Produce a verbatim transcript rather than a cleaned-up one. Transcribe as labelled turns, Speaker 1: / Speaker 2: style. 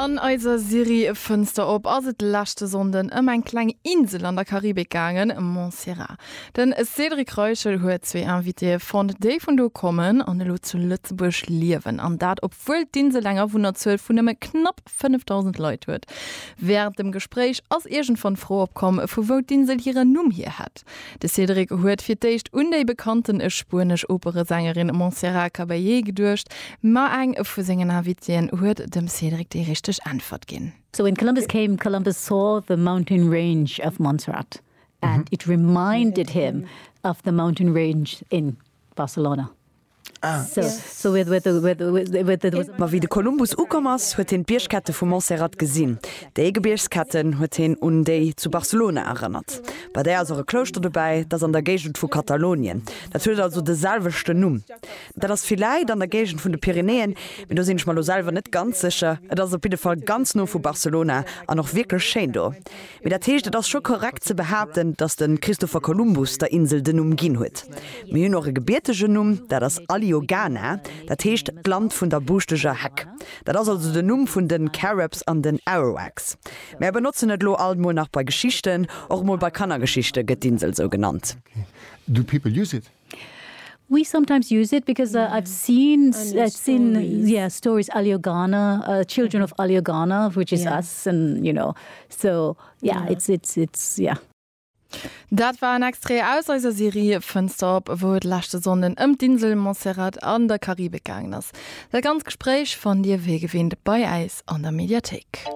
Speaker 1: An eiser Serie Fënster op ass et leschte Sonnden ëm eng kleng Insel an der Karibik gaangen, Montserrat. Den Cédric Reichel huet zwee Invitéë fonnt, déi vun do kommen an elo zu Lëtzebuerg liewen. An dat obwuel d'Insel eng Awunnerzuel vun nëmme knapp fënnefdausend Leit huet. Wärend dem Gespréich ass iergendwann d'Fro opkomm, vu wou d'Insel hiren Numm hier hätt. De Cédric huet fir d'éischt un déi bekannten spuenesch Operesängerin Montserrat Caballé geduecht, ma eng vu sengen Invitéen huet dem Cédric déi richteg Äntwert ginn.
Speaker 2: So when Columbus came, Columbus saw the mountain range of Montserrat and mm -hmm. it reminded him of the mountain range in Barcelona. Ah. So, yes. so with, with, with, with, with, with,
Speaker 3: Ma wéi de Kolumbus ukomm ass, huet hien d'Biergkette vu Montserrat gesinn. Déi Gebiergsketten huet hien un déi zu Barcelona erënnert. Bei där ass och e Klouschter dobäi, dat ass an der Géigend vu Katalonien. Dat huet also de selwechten Numm. Dat ass villäicht an der Géigend vun de Pyrenäen, mee do sinn ech mer lo selwer net ganz sécher. Et ass op jidde Fall ganz no vu Barcelona an och wierklech schéin do. Mee dat heescht, et ass scho korrekt ze behaapten, datt de Christopher Columbus der Insel den Numm ginn huet. Mir hunn och e gebiertegen Numm, dat ass Allioughana, dat heescht d'Land vun der buuschteger Heck. Dat ass also den Numm vun den Caribs an den Arawaks. Mär benotzen et lo alt mol nach bei Geschichten, och mol bei Kannergeschichte gëtt d'Insel sou genannt.
Speaker 4: Do people use it?
Speaker 2: We sometimes use it because uh, I've seen I've seen yeah stories Allioughana uh, children of Allioughana which is yeah. us and you know so yeah, yeah. it's it's it's yeah
Speaker 1: Dat war en Extrait aus eiser Serie Fënster op, wou et leschte Sonnden ëm d'Insel Montserrat an der Karibik gaangen ass. Dat ganzt Gespréich fannt Dir wéi gewinnt bei eis an der Mediathéik.